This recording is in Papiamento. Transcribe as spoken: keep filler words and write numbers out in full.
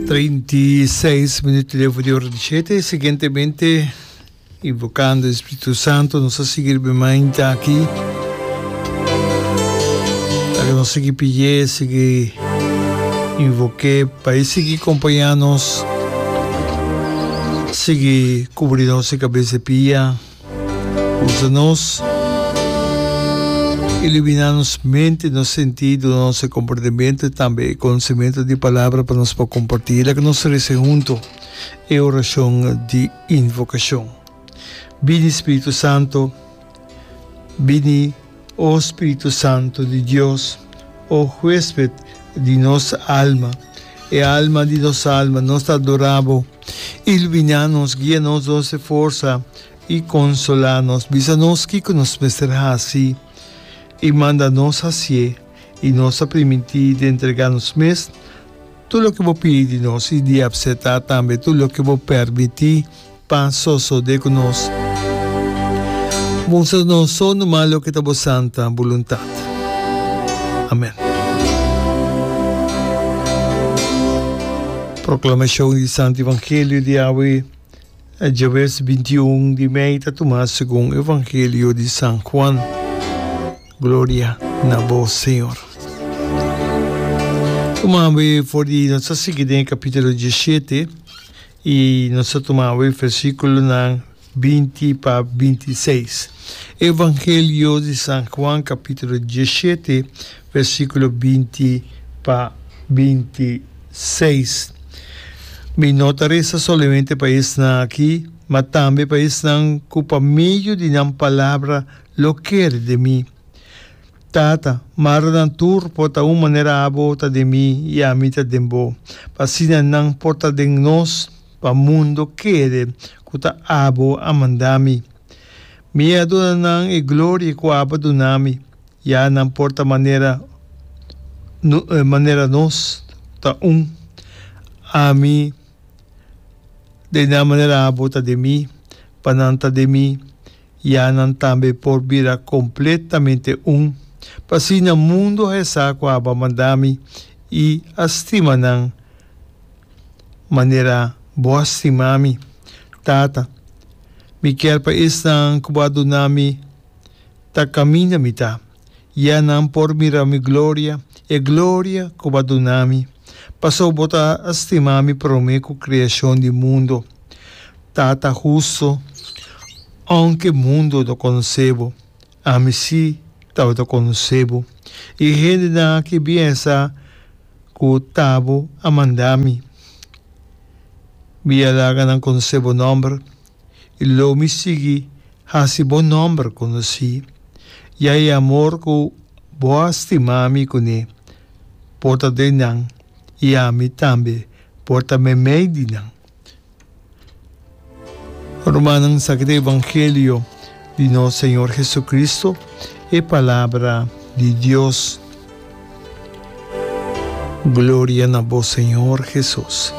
Trinta i seis minuut leu di ora di shete. Siguientemente, invocando e Spiritu Santo, nos a sigui riba e mainta aki. Laga nos sigui pidié, sigui invoké pa e sigui kompañá nos, sigui kubri nos e kabes e pia. Usa nos, iluminá nos mente, nos sentido, nos komportamentu i tambe e konosementu di Palabra pa nos por kompartí. Laga nos resa huntu e orashon di invokashon. Bini, Spiritu Santu, bini, o Spiritu Santu di Dios, o huésped di nos alma, e alma di nos alma, nos ta adorá bo. Iluminá nos, guia nos, nos e forsa i konsolá nos. Bisa nos kiko nos mester hasi i manda nos hasié, i nos ta primintí di entregá nos mes tur loke bo pidi di nos i di apseptá tambe tur loke bo permití pa sosodé ku nos. Mustra nos so numa loke ta bo santa boluntat. Amèn. Proklamashon di Santu Evangelio di awe djaves binti un di mei ta tumá segun Evangelio di San Juan. Gloria na bo, Señor. Tuma awe for di nos ta sigui den e kapítulo diesshete i nos ta tuma awe versíkulonan binti pa binti i seis. Evangelio di San Juan kapítulo diesshete versíkulo binti pa binti i seis. Mi no ta resa solamente pa esnan aki, ma tambe pa esnan ku pa medio di nan palabra lo kere den mi. Tata, mara nan tur por ta un manera abo ta den mi i ami ta den bo, pa asina nan por ta den nos, pa mundo kere ku ta abo a manda mi. Mi a duna nan e gloria ku abo a duna mi, ya nan por ta manera manera nos ta un. Ami den nan manera abo ta den mi, pa nan ta den mi, ya nan tambe por bira kompletamente un, pa asina mundu a hesa ku abo a manda mi i a stima nan manera bo a stima mi. Tata, mi kier pa esnan ku bo a duna mi ta kaminda mi ta, ya nan por mira mi gloria, e gloria ku bo a duna mi, pasobra bo ta a stima mi promé ku kreashon di mundu. Tata hustu, ounke mundu no konosé bo, ami sí tabata konosé bo, i e hendenan aki bien sa ku ta bo a manda mi. Mi a laga nan konosé bo nòmber, i lo mi sigui hasi bo nòmber konosí, ya e amor ku bo a stima mi kuné por ta den nan, i ami tambe por ta meimei di nan. Rumannan, esaki ta e evangelio di nos Señor Jesucristo, e palabra di Dios. Gloria na bo, Señor Jesus.